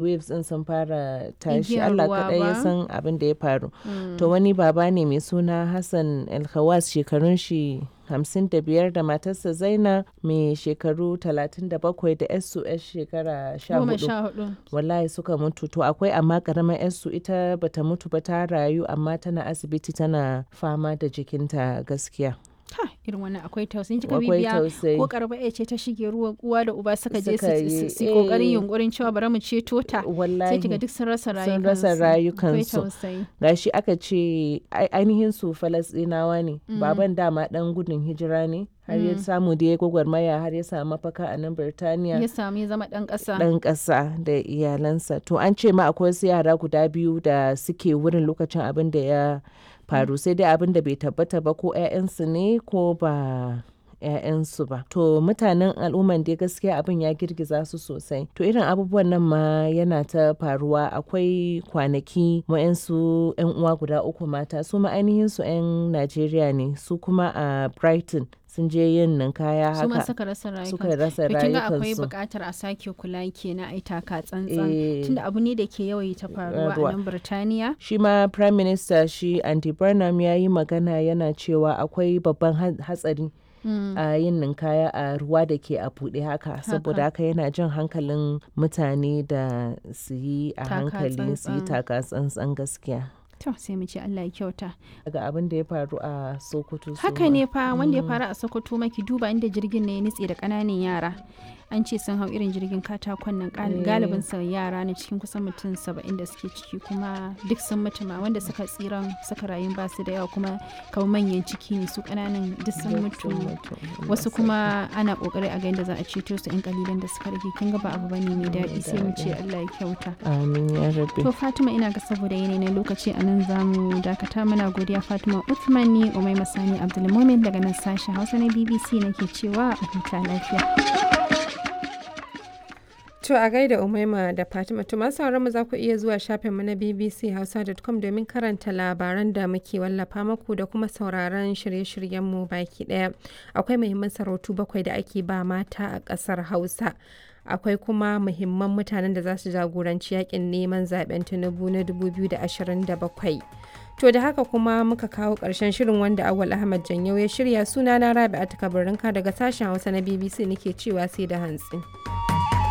Waves ɗin sun fara tashi. Igiyar Allah ruwa kaɗai ya ba? san abin da ya faru. To wani baba ne mai suna Hassan Alkhawas, shekarun shi 55, da matarsa Zaina mai shekaru 37 da yarsu 'yar shekara Goma 14. 14. Wallahi suka mutu. To akwai amma karamar yarsu, ita bata mutu ba, ta rayu, amma tana asibiti tana fama da jikinta gaskiya. Ha, irin wannan akwai tausayi. Kika Akwai bibiya tausayi. ko karba ya ce ta shige ruwa, uwa da uba suka je Suka yi, su kokarin eh. yunkurin cewa bari mu ceto ta. Sai Wallahi. kiga duk sun rasa Sun rasa rayukansu. Akwai rayukansu. tausayi. Gashi aka ce ainihin su Falasɗinawa ne. Baban dama dan gudun hijira ne, har ya samu da ya gwagwarmaya har ya samu mafaka a nan Birtaniya. Ya samu ya zama dan ƙasa. Dan ƙasa da iyalansa. To an ce ma akwai wasu yara guda biyu da suke wurin lokacin abin da ya faru, sai dai abin da bai tabbata ba ko 'ya'yansu ne ko ba 'ya'yansu ba. To mutanen al'umman dai gaskiya abin ya girgiza su sosai. To irin abubuwan nan ma yana ta faruwa. Akwai kwanaki wa'yansu 'yan uwa guda uku mata, su ma ainihin su 'yan Najeriya ne, su kuma a Brighton sun je yin ninkaya Su ma haka suka rasa rayukansu. suka rasa To kin ga akwai rayukansu. buƙatar a sake kula kenan, ai taka tsantsan. Eh. Tunda abu ne da ke yawaita faruwa a Faruwa. nan Birtaniya. Shi ma Prime Minister shi Andy Burnham ya yi magana yana cewa akwai babban hatsari a yin ninkaya a ruwa da ke a buɗe haka, saboda haka yana jan hankalin mutane da su yi a Taka hankali, su yi tsantsan. taka tsantsan gaskiya. To sai mu ce Allah ya kyauta. Daga abin da ya faru a Sokoto su Haka ma. ne fa, wanda ya faru a Sokoto, maki duba inda jirgin ne ya nutse da ƙananan yara. An ce sun hau irin jirgin katakon nan, galibin sa yara ne cikin kusan mutum 70 da suke ciki, kuma duk sun mutu. Ma wanda suka tsiran suka rayu ba su da yawa, kuma kamar manyan ciki ne, su ƙananan duk sun Duk mutu. sun mutu. Allah Wasu sarki. kuma ana kokari a ga yadda za a ceto su, 'yan kalilan da suka rage. Kin ga ba abu bane mai daɗi, sai mu ce Allah ya kyauta. Amin ya rabbi. To Fatima, ina ga saboda yanayi na lokaci a nan za mu dakata. Muna godiya Fatima Uthman. Ni Umai Masani Abdulmumin daga nan sashen Hausa na BBC nake cewa a huta lafiya. To a gaida Umaima da Fatima. To masu sauraron mu, za ku iya zuwa shafin mu na bbchausa.com domin karanta labaran da muke wallafa muku da kuma sauraron shirye-shiryen mu baki daya. Akwai muhimman sarautu bakwai da ake ba mata a ƙasar Hausa. Akwai kuma muhimman mutanen da za su jagoranci yakin neman zaben Tinubu na 2027. To da haka kuma muka kawo ƙarshen shirin wanda Awal Ahmad Janyau ya shirya. Sunana Rabi'a Kabarinka daga sashen Hausa na BBC nake cewa sai da hantsi.